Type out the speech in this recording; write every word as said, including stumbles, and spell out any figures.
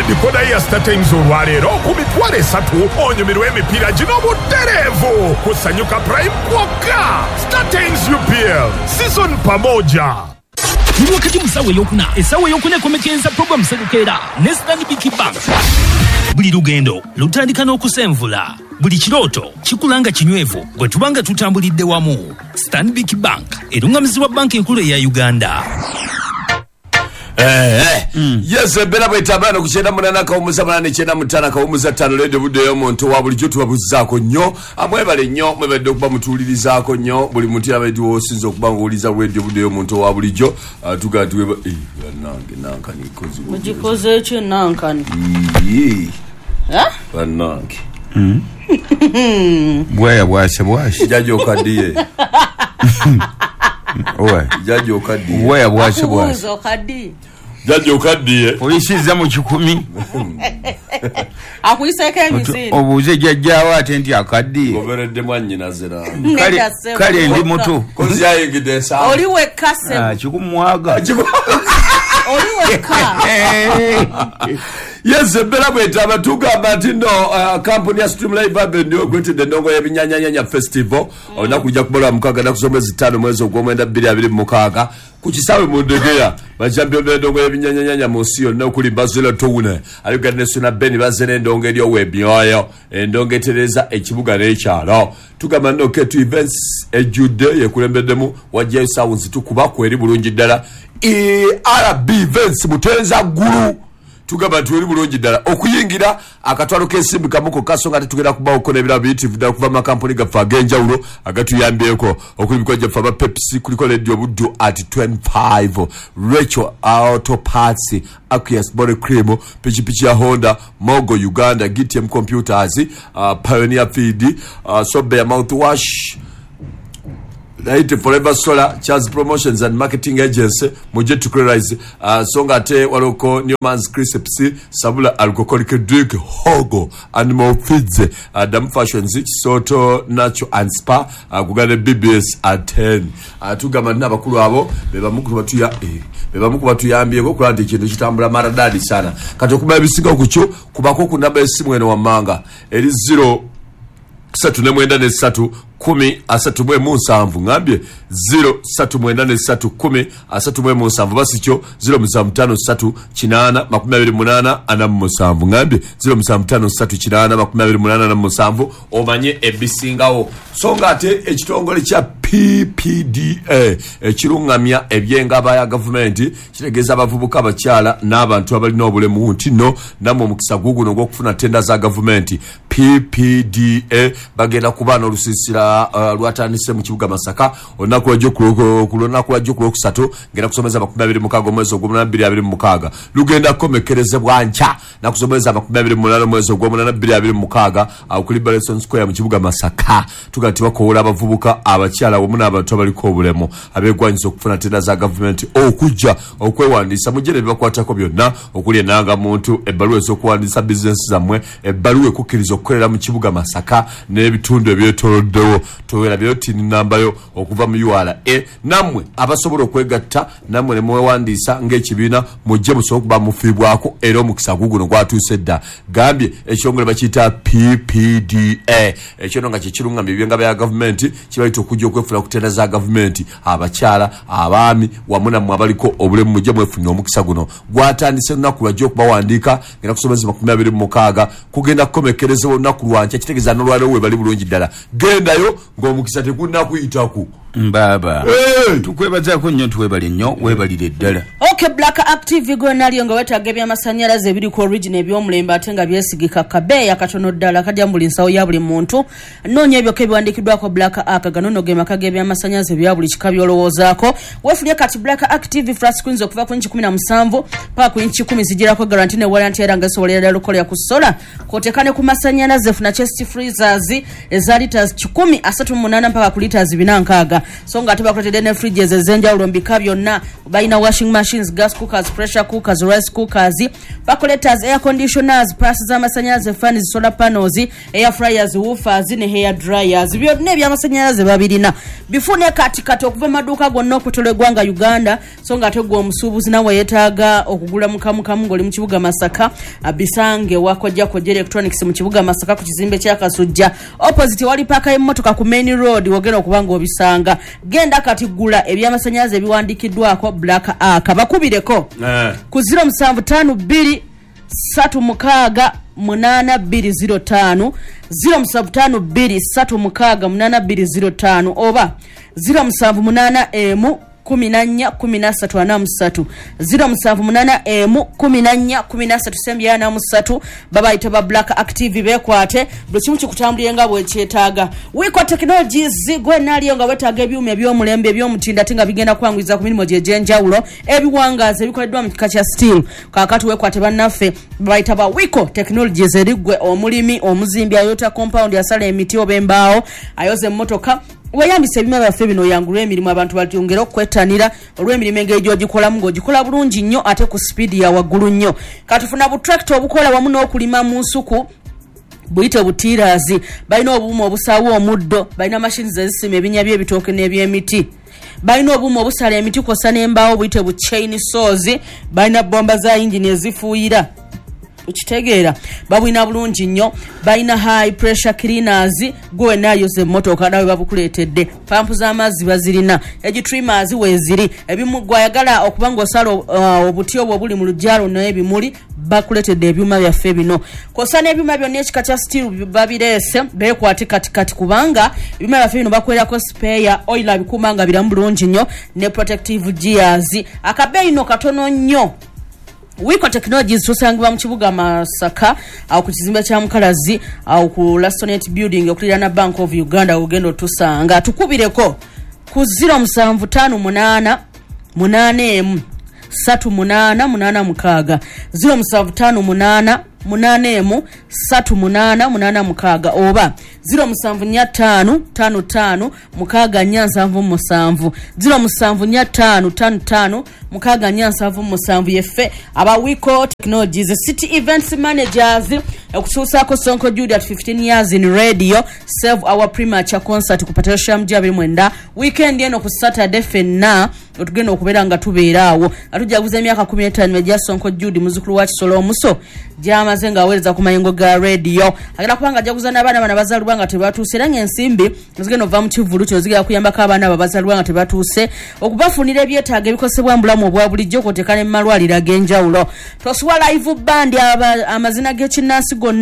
Decoder ya StarTimes olwaleero ku mitwalo esatu onyumirwe emipiira gino butereevu ku Sanyuka Prime kwokka. StarTimes U P L season pamoja. Tuli wakati mu ssaawa eyokuna, essaawa eyokuna ekomekereza program Sebukeera ne Stanbic Bank. Buli lugendo lutandika n'okusenvula, buli kirooto kikula nga kinywevu bwe tuba nga tutambulidde wamu. Stanbic Bank erungamizibwa banka enkulu eya Uganda. Eh, eh. Yes, ebera bwetambula okukyenda munana kawumuza munana ekyenda mutaano kawumuza ttaano leero buddeyo omuntu wa bulijjo tubabuzaako nnyo. Amwebale nnyo, mwebadde okuba mutuwulirizaako nnyo. Buli muntu yabadde osinza okuba ng'owuliriza radio buddeyo omuntu wa bulijjo. Tugaa tuweba eh bannange nankani ikoze. Mugikoze ekyo nankani. Yee. Eh? Bannange. Mm. Bwaya bwase bwase. Jjajja okaddiye. Owe. Jjajja okaddiye. Bwaya bwase bwase. Okaddiye. Jjajja okaddiye. Oyisizza mu kikumi. Akuyiseeko emisinde. Obuuze jjajjaawo ate nti akaddiye. Goberedde mwannyinaze nange. Kale kale ndi muto. Kozi yayingidde ensanvu. Oli wekka ssebo. Ah, kikumwaga. Oli wekka. Yes, ebera bwetaba tugamba nti no kampuni ya Stream Live Avenue ekwetedde endongo y'ebinnyanyanyanya festival. Olunaku lujja kuba mukaaga nnaku z'omwezi ttaano mwezi ogw'omwenda bbiri abiri mu mukaaga ku kisaawe mu Ndegeya. Bachampion b'endongo y'ebinnyanyanyanya mu nsi yonna okuli Bazela Town, Aluga National Ben bazze n'endongo eryowa emyoyo, endongo etereeza ekibuga n'ekyalo. Tugamba nno K two Events ejjudde yekulembeddemu wajjayo sounds tukuba ku eri bulungi ddala. E R B Events Mutenza Ggulu. Tugamba nti eri bulungi ddala okuyingira akatwalo k'ensimbi kamu kokka so nga tetugenda kubaako n'ebirabo biyitirivu ddala okuva mu makampuni gaffe ag'enjawulo agatuyambyeko okuli emikono gyaffe aba Pepsi, kuliko Radio Buddu at twenty-five, Rachel Auto Parts, Aqueous Body Cream, pikipiki ya Honda, Mogo Uganda, G T M Computers, uh, Pioneer Feed, uh, Sobea Mouthwash, Light Forever Solar, Charles Promotions and Marketing Agency, mujje tukularize. Uh, songa ate waloko Newman's Crisps, Sabula Alcoholic Drink, Hogo, Animal Feeds, uh, Dam Fashions, Soto Natural and Spa, uh, kugane B B S at ten. Uh, tugamba n'abakulu abo bebamu ku batuya eh, bebamu ku batuyambyeko okulaba nti ekintu kitambula maradadi sana. Kati okumanya ebisinga ku kyo kubako ku namba y'essimu eno wammanga eri zero ssatu ne mwenda ne ssatu kumi asatu mu emu nsanvu. Ngambye zero ssatu mwenda ne ssatu kumi asatu mu emu nsanvu. Basi kyo zero musanvu ttaano ssatu kinaana makumi abiri munaana ana mu musanvu. Ngambye zero musanvu ttaano ssatu kinaana makumi abiri munaana ana mu musanvu omanye ebisingawo. So nga ate ekitongole kya P P D A ekirungamya ebyengaba ya gavumenti kitegeeza abavubuka abakyala n'abantu abalina obulemu nti nno nammwe omukisa guguno ogw'okufuna tenda za gavumenti. P P D A bagenda kuba n'olusiisira uh, lwatandise mu kibuga Masaka olunaku lwajjo ku lunaku lwajjo ku lwokusatu ngenda kusomeza makumi abiri mukaaga omwezi ogw'omunaana bbiri abiri mu mukaaga lugenda kukomekkerezebwa nkya nnaku z'omwezi amakumi abiri mu munaana omwezi ogw'omunaana bbiri abiri mu mukaaga awo ku Liberation Square mu kibuga Masaka. Tugamba nti bakowoola abavubuka abakyala wamu n'abantu abaliko obulemu abeegwanyiza okufuna tenda za gavumenti okujja okwewandiisa mujje ne bibakwatako byonna okuli ennangamuntu, ebbaluwa ez'okuwandiisa bizinensi zammwe, ebbaluwa ekukkiriza okukolera mu kibuga Masaka n'ebitundu ebyetooloddewo. Towerabyeyo tini nnambayo okuva mu U R A. Nammwe abasobola okwegatta nammwe ne mwewandiisa ng'ekibiina mujje musobole okuba mufiibwako era omukisa guguno gwatuuse dda. Gambye ekitongole bakiyita P P D A ekyo nno nga kye kirungamya ebyengaba ya gavumenti kibayita okujja okwefuna ku tenda za gavumenti abakyala, abaami wamu nammwe abaliko obulemu mujje mwefunire omukisa guno. Gwatandise lunaku lwajja okubawandiika ngenda kusomeza makumi abiri mu mukaaga kugenda kukomekkerezebwa olunaku lwankya kitegeeza n'olwaleero we bali bulungi ddala. Gendayo ng'omukisa tegunnakuyitaku. Mbaba. Hey! Tukwebazaako nnyo tuwebale nnyo weebalire ddala. Okay, Black Active gwe nalyo nga wetaaga ebyamasannyalaze ebiriko original eby'omulembe ate nga byesigika kabeeya katono ddala kajja mu buli nsawo ya buli muntu. Noonya ebyokka ebiwandiikiddwako Black Ark gano nno ge maka g'ebyamasannyalaze ebya buli kika by'olowoozaako. Weefunye kati Black Active flat screens okuva ku inchi kumi na musanvu paka ku inchi kumi zigirako guarantee ne warranty era nga esobolera ddala okukolera ku sola. Kw'oteeka ne ku masannyalaze funa chest freezers eza liters kikumi asatu mu munaana mpaka ku liters bina nkaaga. So nga ate bakuleetedde ne fridges ez'enjawulo mu bika byonna. Balina washing machines, gas cookers, pressure cookers, rice cookers, percolators, air conditioners, paasi z'amasannyalaze, fans, solar panels, air fryers, woofers ne hair dryers. Byonna ebyamasannyalaze babirina. Bifune kati kati okuva mu maduuka gonna okwetooloola eggwanga Uganda. So nga ate gwe omusuubuzi nawe yeetaaga okugula mukamukamu ng'oli mu kibuga Masaka, bisange wakojja Kojja Electronics mu kibuga Masaka ku kizimbe kya Kasujja opposite wali paaka y'emmotoka ku main road, wogenda okuba ng'obisanga. Genda kati gula ebyamasannyalaze ebiwandiikiddwako Black Ark. Bakubireko Eh. ku zero musanvu ttaano bbiri ssatu mukaaga munaana bbiri zero ttaano, zero musanvu ttaano bbiri ssatu mukaaga munaana bbiri zero ttaano oba zero musanvu munaana emu kumi na nnya kumi na ssatu ana mu ssatu, zero musanvu munaana emu kumi na nnya kumi na ssatu sembi ana mu ssatu. Babayita ba Black Active, beekwate buli kimu kikutambulire nga bwekyetaaga. Wiko Technologies, gwe naaliyo nga weetaaga ebyuma eby'omulembe eby'omutindo ate nga bigenda kwanguyiza ku mirimu gye egy'enjawulo, ebiwangaazi ebikoleddwa mu kika kya steel, kaakati weekwate bannaffe babayita ba Wiko Technologies. Eri ggwe omulimi, omuzimbi, ayota compound, asala emiti oba embaawo, ayoza emmotoka, weyambisa ebyuma byaffe bino oyangulwe emirimu, abantu balyongere okwettanira olw'emirimu engeri gy'ogikolamu ng'ogikola bulungi nnyo ate ku sipiidi ya waggulu nnyo. Katufuna butractor obukola wamu n'okulima mu nsuku, buyite butillers. Balina obuuma obusaawa omuddo, balina machines ezisima ebinnya by'ebitooke n'ebyemiti, balina obuuma obusala emiti kwossa n'embaawo, buyite bu chain saws, balina bomba za yingini ezifuuyira, okitegeera, babulina bulungi nnyo. Balina high pressure cleaners, gwe wenna ayoza emmotoka nawe babukuleetedde. Pampu z'amazzi bazirina, hedge trimmers weeziri. Ebimu gwayagala okuba ng'osala uh, obuti obwo obuli mu luggya lwo n'ebimuli, bakuleetedde ebyuma byaffe bino kwossa n'ebyuma byonna ekika kya steel babireese. Beekwate katikati kubanga ebyuma byaffe bino bakwerako spare oil abikuuma nga biramu bulungi nnyo ne protective gears, akabeeyi no katono nnyo. Wiko Technologies tusangibwa mu kibuga Masaka, awo ku kizimbe kya Mukalazi, awo ku Lasonet building okuliraana Bank of Uganda, ogenda otusanga. Tukubireko ku zero musanvu ttaano munaana munaana emu ssatu munaana munaana mukaaga, zero musanvu ttaano munaana munaana emu ssatu munaana munaana mukaaga oba zero musanvu nnya ttaano ttaano ttaano mukaaga nnya nsanvu musanvu, zero musanvu nnya ttaano ttaano ttaano mukaaga nnya nsanvu musanvu. Yeffe aba Wiko Technologies. City Events Managers okutuusaako Sonko Jude at fifteen years in radio, save our premature concert ku Patricia Mj abiri mwenda weekend eno ku Saturday. Ffenna otugenda okubeera nga tubeera awo nga tujaguza emyaka kumi n'etaano egya Sonko Jude, muzukulu wa Kisolo Omuso, gyamaze ng'aweereza ku mayengo ga radio. Agenda kuba nga ajaguza n'abaana bano abazaalibwa nga tebatuuse, era ng'ensimbi zigenda okuva mu kivvulu kino zigenda kuyambako abaana abo abazaalibwa nga tebatuuse okubafunira ebyetaago ebikozesebwa mu bulamu obwa bulijjo, kw'oteeka ne mu malwaliro ag'enjawulo. Tosuwa live band, amazina g'ekinnansi gonna.